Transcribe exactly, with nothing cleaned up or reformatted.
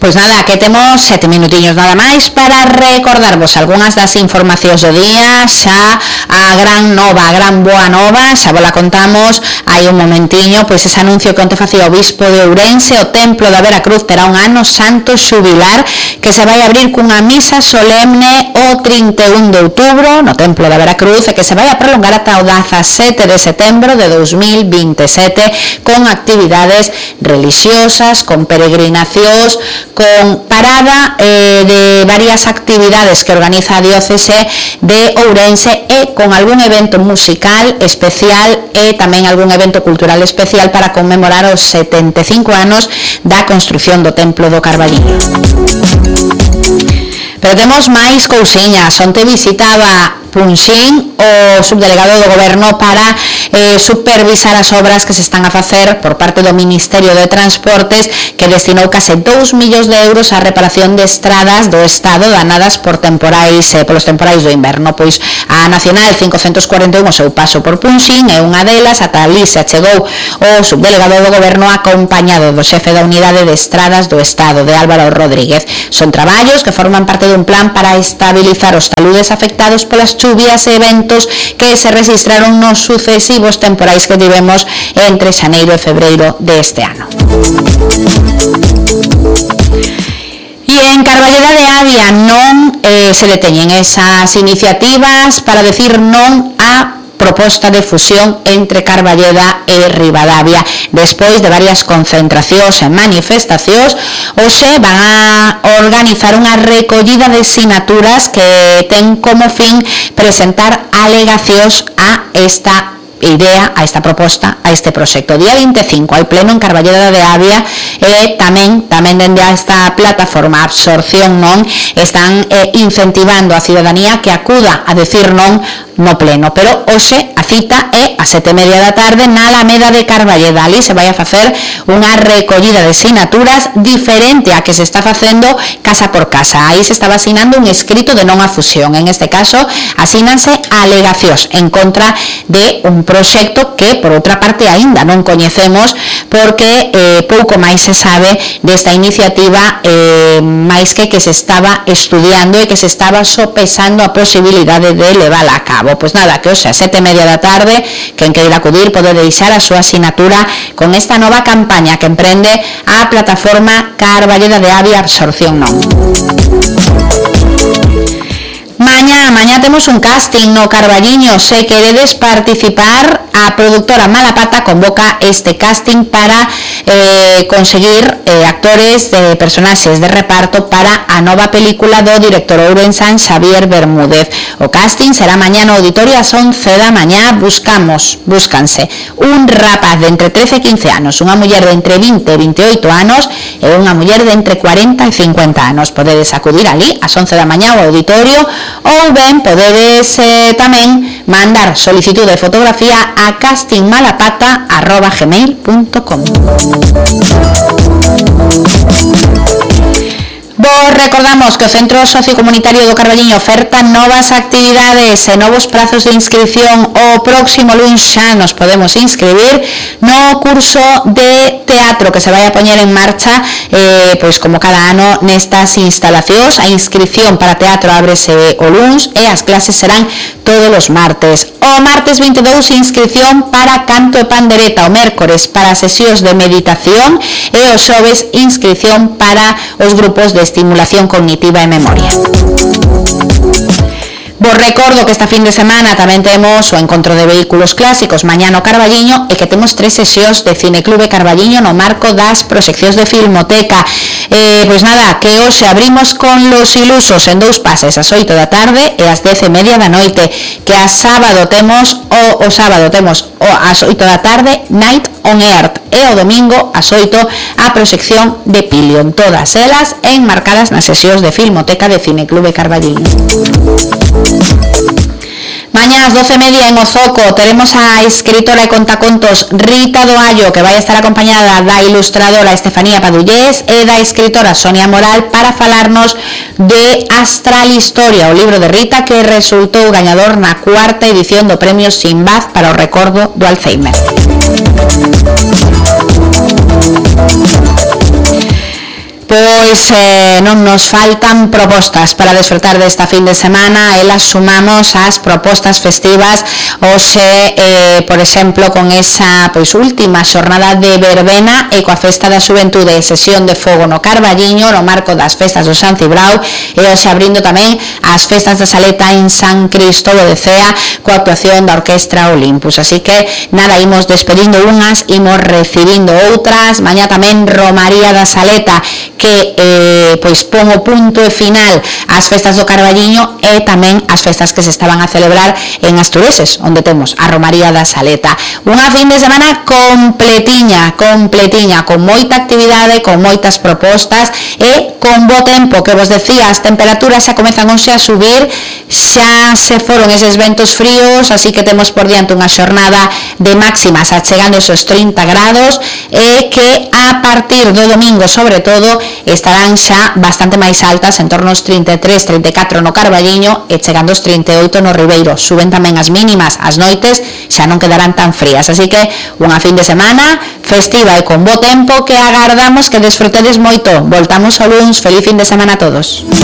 Pois nada, que temos sete minutiños nada máis para recordarvos algunhas das informacións do día. Xa a gran nova, a gran boa nova, xa vos la contamos hai un momentiño, pois ese anuncio que onte facía o bispo de Ourense. O templo da Veracruz terá un ano santo xubilar que se vai abrir cunha misa solemne o trinta e un de outubro no templo da Veracruz e que se vai a prolongar ata o dezasete de setembro de dos mil vinte e sete con actividades religiosas, con peregrinacións, con parada eh, de varias actividades que organiza a diócese de Ourense e con algún evento musical especial e tamén algún evento cultural especial para conmemorar os setenta e cinco anos da construción do Templo do Carballiño. Pero temos máis cousiñas. Onte visitaba Punxín o subdelegado do Goberno para eh, supervisar as obras que se están a facer por parte do Ministerio de Transportes, que destinou case dous millóns de euros á reparación de estradas do Estado danadas por temporais, eh, polos temporais do inverno. Pois a Nacional cincocentos cuarenta e un o seu paso por Punxín é unha delas. Ata ali se achegou o subdelegado do Goberno acompañado do xefe da Unidade de Estradas do Estado, de Álvaro Rodríguez. Son traballos que forman parte dun plan para estabilizar os taludes afectados polas chuvias e eventos que se registraron nos sucesivos temporais que tivemos entre xaneiro e febreiro deste ano. E en Carballeda de Avia non eh, se deteñen esas iniciativas para decir non a proposta de fusión entre Carballeda e Ribadavia. Despois de varias concentracións e manifestacións, hoxe van a organizar unha recollida de sinaturas que ten como fin presentar alegacións a esta idea, a esta proposta, a este proxecto. Día vinte e cinco hai pleno en Carballeda de Avia e tamén tamén dende esta plataforma Absorción Non están eh, incentivando a ciudadanía que acuda a decir non no pleno, pero hoxe a cita é a sete e media da tarde na Alameda de Carballeda. Ali se vai a facer unha recollida de sinaturas diferente a que se está facendo casa por casa. Aí se está vacinando un escrito de non a fusión. En este caso, asínanse alegacións en contra de un proxecto que, por outra parte, aínda non coñecemos porque eh, pouco máis se sabe desta iniciativa, eh, máis que que se estaba estudiando e que se estaba sopesando a posibilidade de levala a cabo. Pois nada, que hoxe a sete e media da tarde, quen queira acudir pode deixar a súa asinatura con esta nova campaña que emprende a plataforma Carballeda de Avia Absorción Non. Mañá, mañá temos un casting no Carballiño. Se queredes participar, a productora Malapata convoca este casting para eh, conseguir eh, actores de personaxes de reparto para a nova película do director ourensán Xavier Bermúdez. O casting será mañá no auditorio ás once da mañá. Buscamos, búscanse un rapaz de entre trece e quince anos, unha muller de entre vinte e veintioito anos e unha muller de entre cuarenta e cincuenta anos. Podedes acudir ali ás once da mañá ao auditorio ou ben podedes eh, tamén mandar solicitude de fotografía a castingmalapata arroba gmail punto com. Vos recordamos que o Centro Sociocomunitario do Carballiño oferta novas actividades e novos prazos de inscripción. O próximo luns xa nos podemos inscribir no curso de teatro que se vai a poñer en marcha eh, pois como cada ano nestas instalacións. A inscripción para teatro ábrese o luns e as clases serán todos os martes. O martes vinte e dous, inscripción para canto e pandereta. O mércores para sesións de meditación e o xoves inscripción para os grupos de estimulación cognitiva e memoria. Vos recordo que esta fin de semana tamén temos o encontro de vehículos clásicos mañá no Carballiño e que temos tres sesións de Cineclube Carballiño no marco das proxeccións de Filmoteca. Eh, pois nada, que hoxe abrimos con Los Ilusos en dous pases ás oito da tarde e ás dez e media da noite, que a sábado temos o, o sábado temos o ás oito da tarde Night on Earth e o domingo ás oito a proxección de Pilion, todas elas enmarcadas nas sesións de Filmoteca de Cineclube Carballiño. Mañá ás doce e media en Ozoco teremos a escritora e contacontos Rita Doallo, que vai estar acompañada da ilustradora Estefanía Padullés e da escritora Sonia Moral para falarnos de Astral Historia, o libro de Rita que resultou gañador na cuarta edición do Premio Sinbad para o recordo do Alzheimer. Pois Pois eh, non nos faltan propostas para desfrutar desta fin de semana. Elas sumamos as propostas festivas hoxe, eh, por exemplo, con esa pois última xornada de verbena e coa festa da xuventude e sesión de fogo no Carballiño no marco das festas do San Cibrao, e hoxe abrindo tamén as festas da Saleta en San Cristóbal de Cea coa actuación da Orquestra Olympus. Así que nada, imos despedindo unhas, imos recibindo outras. Mañá tamén Romaría da Saleta, que eh, pois pon o punto e final ás festas do Carballiño e tamén as festas que se estaban a celebrar en Astureses, onde temos a Romaría da Saleta. Unha fin de semana completiña, completiña, con moita actividade, con moitas propostas e con bo tempo, que vos decía, as temperaturas xa comezan hoxe a subir, xa se foron eses ventos fríos, así que temos por diante unha xornada de máximas achegando esos trinta grados, e que a partir do domingo, sobre todo, estarán xa bastante máis altas, en torno aos trinta e tres, trinta e catro no Carballiño e chegando aos trinta e oito no Ribeiro. Suben tamén as mínimas, as noites xa non quedarán tan frías, así que unha fin de semana festiva e con bo tempo que agardamos que desfrutedes moito. Voltamos ao luns. Feliz fin de semana a todos.